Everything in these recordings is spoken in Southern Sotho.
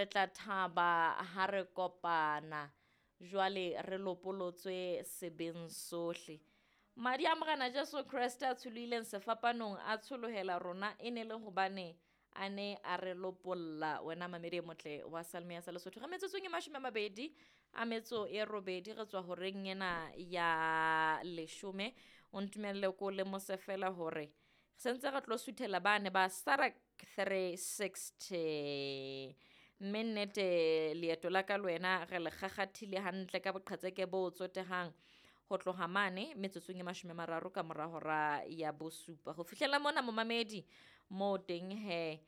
Re tla thaba ha re kopana. Jwale re lopolotswe sebeng sohle. Madi a Morena Jesu Kreste a tsholohileng sefapanong a tsholohela rona e ne le hobane a ne a re lopolla. Wena mamedi e motle wa Salme ya sa Lesotho. Re metsotsong e 28 re tswa horeng ena ya 10. O ntumelle ko lemose fela hore sentse re tlo suthela bane ba Sarak 360. Mme nnete leeto la ka le wena re le kgakgathile hantle ka boqhetseke bo tsotehang ho tloha mane metsotsong e 30 ka mora hora ya 7. Ho fihlela mona momamedi mo teng he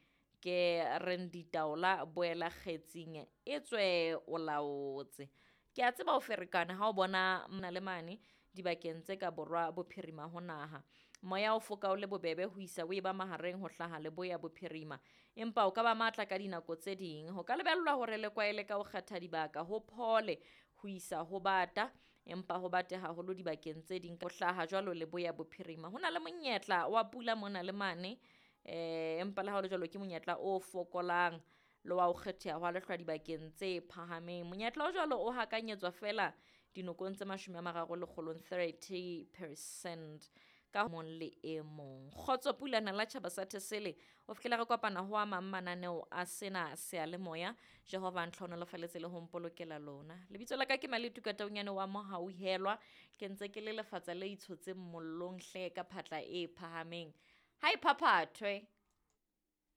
ke reng ditaola boela kgetsing e tswe o laotse. Ke a tseba o ferekana ha o bona mona le mane dibakeng tse ka borwa bophirima ho naha. Moya o foka o le bobebe ho isa o eba mahareng ho hlaha leboya bophirima, empa o ka ba matla ka dinako tse ding. Ho ka lebellwa hore le kwaele ka ho kgetha dibaka ho phole ho isa ho bata, empa ho bate haholo dibakeng tse ding ho hlaha jwalo leboya bophirima. Ho na le monyetla wa pula mona le mane, empa le ha ho le jwalo ke monyetla o fokolang le wa ho kgetheha hwa lehlwa dibakeng tse phahameng. Monyetla o jwalo o hakanyetswa fela dinokong tse 30 30% ka mong le e mong. Kgotso pulana la tjhaba sa Thesele, o fihlela re kopana ho a mang mananeo a sena seyalemoya. Jehova a ntlhohonolofaletse le ho mpolokela lona. Lebitso la ka ke Maletu Kataunyane wa Mohauhelwa. Ke ntse ke le lefatsa le itshotseng mollong hle ka phatla e phahameng. Ha e phaphathwe.